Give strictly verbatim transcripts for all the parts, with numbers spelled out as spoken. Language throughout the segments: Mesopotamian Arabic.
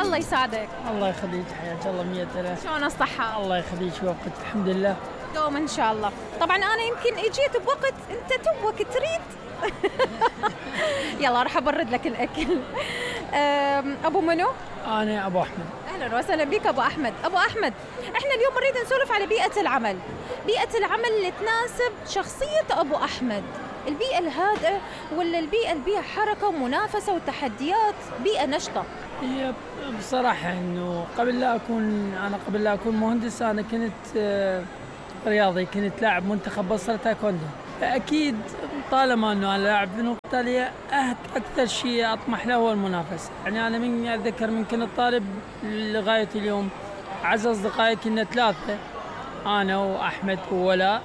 الله يسعدك. الله يخليك، حياك الله مية ألف. شلون الصحة؟ الله يخليك وقت الحمد لله. دوم إن شاء الله. طبعا أنا يمكن إجيت بوقت أنت توك تريد. يلا راح أبرد لك الأكل. أبو منو؟ أنا أبو أحمد. أهلا وسهلا بك أبو أحمد. أبو أحمد، إحنا اليوم نريد نسولف على بيئة العمل، بيئة العمل اللي تناسب شخصية أبو أحمد، البيئة الهادئة ولا البيئة اللي بيها حركة ومنافسة وتحديات، بيئة نشطة؟ هي بصراحة إنه قبل لا أكون أنا قبل لا أكون مهندس أنا كنت رياضي، كنت لاعب منتخب بصرة تايكوندو، فأكيد طالما إنه أنا لاعب فنون قتالية أكثر شيء أطمح له هو المنافسة. يعني أنا من أتذكر من كنت طالب لغاية اليوم أعز أصدقائي كنا ثلاثة، أنا وأحمد وولاء،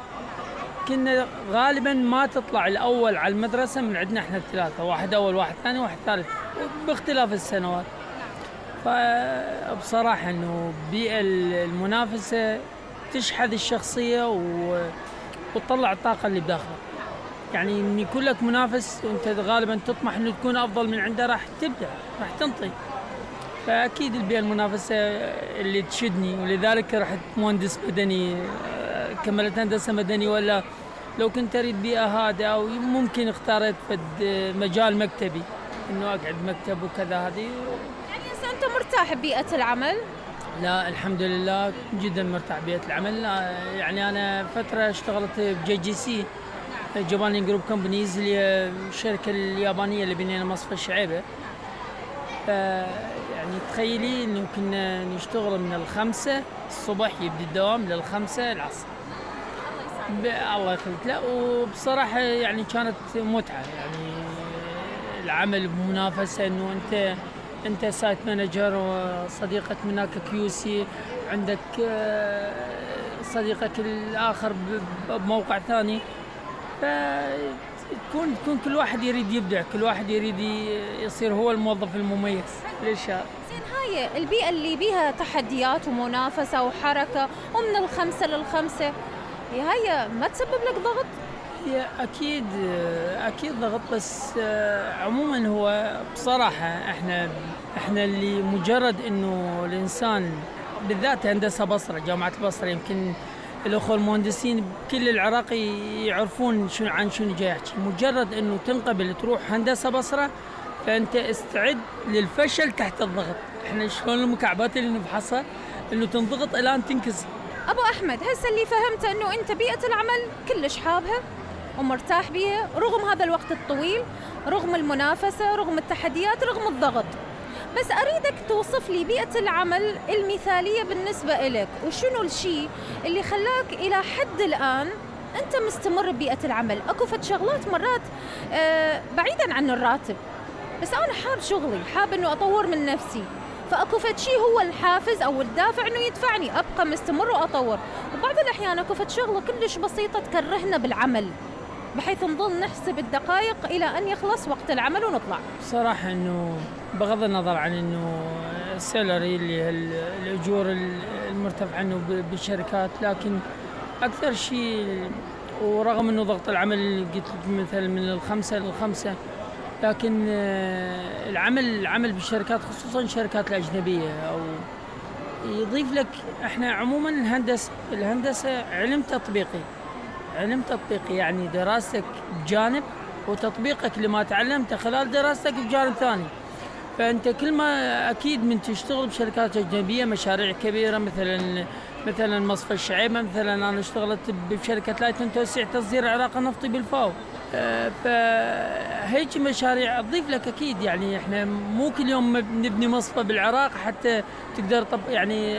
كنا غالبا ما تطلع الأول على المدرسة من عندنا إحنا الثلاثة، واحد أول واحد ثاني واحد ثالث باختلاف السنوات. فبصراحة إنه بيئة المنافسة تشحذ الشخصية وتطلع الطاقة اللي بداخلك. يعني إن يكون لك منافس وأنت غالبا تطمح إنه تكون أفضل من عنده راح تبدع، راح تنطي. فأكيد البيئة المنافسة اللي تشدني، ولذلك رحت مهندس مدني، كملت هندسة مدني. ولا لو كنت أريد بيئة هادئة أو ممكن اختارت مجال مكتبي إنه أقعد مكتب وكذا. هذه يعني أنت مرتاح ببيئة العمل؟ لا الحمد لله جدا مرتاح ببيئة العمل. يعني أنا فترة اشتغلت بجي جي سي جاباني جروب كومبانيز اللي هي الشركة اليابانية اللي بنينا مصفى الشعيبة. يعني تخيلي إنه كنا نشتغل من الخمسة الصبح يبدي الدوام للخمسة العصر. الله يخليك. لا وبصراحة يعني كانت متعة، يعني العمل بمنافسة، إنه أنت أنت سايت مانجر وصديقك منك كيوسي، عندك صديقك الآخر بموقع ثاني، فتكون تكون كل واحد يريد يبدع، كل واحد يريد يصير هو الموظف المميز للشغل. زين، هاي البيئة اللي بيها تحديات ومنافسة وحركة ومن الخمسة للخمسة، هاي ما تسبب لك ضغط؟ هي أكيد أكيد ضغط، بس عموما هو بصراحة إحنا إحنا اللي مجرد إنه الإنسان بالذات هندسة بصرة، جامعة البصرة، يمكن الأخوة المهندسين كل العراق يعرفون شنو عن شنو جاي أحكي. مجرد إنه تنقبل تروح هندسة بصرة فأنت استعد للفشل تحت الضغط. إحنا شلون المكعبات اللي نفحصها إنه تنضغط إلى أن تنكسر. أبو أحمد، هسه اللي فهمته إنه أنت بيئة العمل كلش حابها ومرتاح بيها رغم هذا الوقت الطويل، رغم المنافسة، رغم التحديات، رغم الضغط. بس أريدك توصف لي بيئة العمل المثالية بالنسبة إلك، وشنو الشيء اللي خلاك إلى حد الآن أنت مستمر ببيئة العمل. أكو فد شغلات مرات آه بعيداً عن الراتب، بس أنا حاب شغلي، حاب إنه أطور من نفسي، فأكو فد شيء هو الحافز أو الدافع إنه يدفعني أبقى مستمر وأطور. وبعض الأحيان أكو فد شغلة كلش بسيطة تكرهنا بالعمل، بحيث نظل نحسب الدقائق إلى أن يخلص وقت العمل ونطلع. صراحة إنه بغض النظر عن إنه السالري اللي هي الأجور المرتفعة إنه بالشركات، لكن أكثر شيء ورغم إنه ضغط العمل اللي قلت لك مثل من الخمسة للخمسة، لكن العمل العمل بالشركات خصوصا الشركات الأجنبية أو يضيف لك. إحنا عموما الهندسة الهندسة علم تطبيقي، علم تطبيقي يعني دراستك بجانب وتطبيقك لما تعلمته خلال دراستك بجانب ثاني. فأنت كل ما أكيد من تشتغل بشركات أجنبية مشاريع كبيرة، مثلا مثلا مصفى الشعيبة، مثلا أنا اشتغلت بشركة لايتن توسيع تصدير العراق النفطي بالفاو. فهيك مشاريع تضيف لك أكيد. يعني إحنا مو كل يوم نبني مصفى بالعراق حتى تقدر طب يعني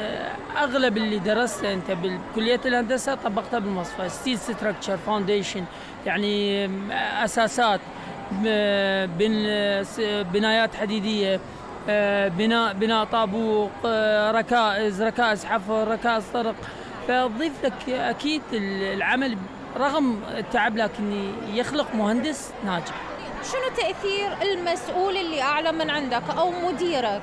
أغلب اللي درسته أنت بكلية الهندسة طبقتها بالمصفى، ستيل ستراكشر فاونديشن، يعني أساسات، بنايات حديدية، بناء بناء طابوق، ركائز ركائز حفر، ركائز طرق. فتضيف لك أكيد العمل رغم التعب لكن يخلق مهندس ناجح. شنو تأثير المسؤول اللي أعلى من عندك أو مديرك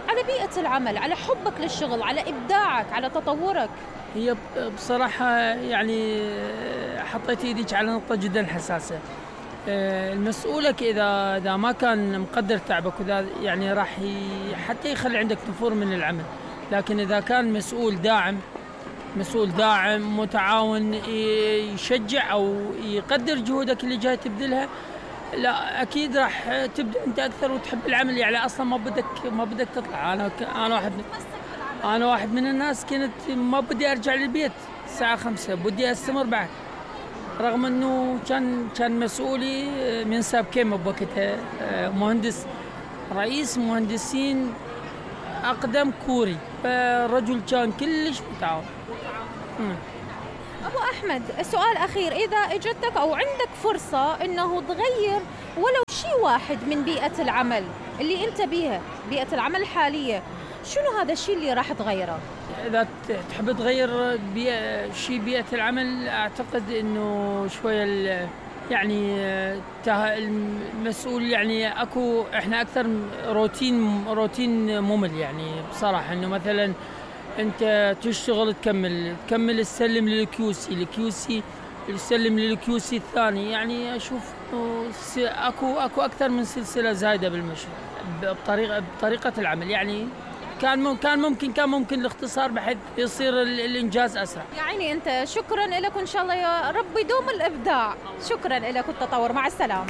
على بيئة العمل، على حبك للشغل، على إبداعك، على تطورك؟ هي بصراحة يعني حطيت إيديك على نقطة جدا حساسة. آه، المسؤولك اذا اذا ما كان مقدر تعبك وذا يعني راح حتى يخلي عندك نفور من العمل. لكن اذا كان مسؤول داعم مسؤول داعم متعاون يشجع او يقدر جهودك اللي جاي تبذلها، لا اكيد راح تبدا انت اكثر وتحب العمل. يعني اصلا ما بدك ما بدك تطلع. انا انا واحد من انا واحد من الناس كنت ما بدي ارجع للبيت الساعه خمسة، بدي استمر بعد، رغم انه كان كان مسؤولي من ساب كيما بوقتها مهندس رئيس مهندسين اقدم كوري، فالرجل كان كلش متعاون. ابو احمد، سؤال اخير، اذا اجتك او عندك فرصه انه تغير ولو شيء واحد من بيئه العمل اللي انت بيها، بيئه العمل الحاليه، شنو هذا الشيء اللي راح تغيره؟ اذا تحب تغير بيئة شيء بيئه العمل، اعتقد انه شويه يعني المسؤول يعني اكو احنا اكثر روتين روتين ممل يعني بصراحه. انه مثلا انت تشتغل تكمل تكمل تسلم للكيوسي الكيوسي تسلم للكيوسي الثاني. يعني اشوف اكو اكو اكثر من سلسله زايده بالمشروع بطريقه بطريقه العمل. يعني كان كان ممكن كان ممكن الاختصار بحيث يصير الانجاز اسرع. يعني انت شكرا لك، وان شاء الله يا رب يدوم الابداع. شكرا لك والتطور، مع السلامه.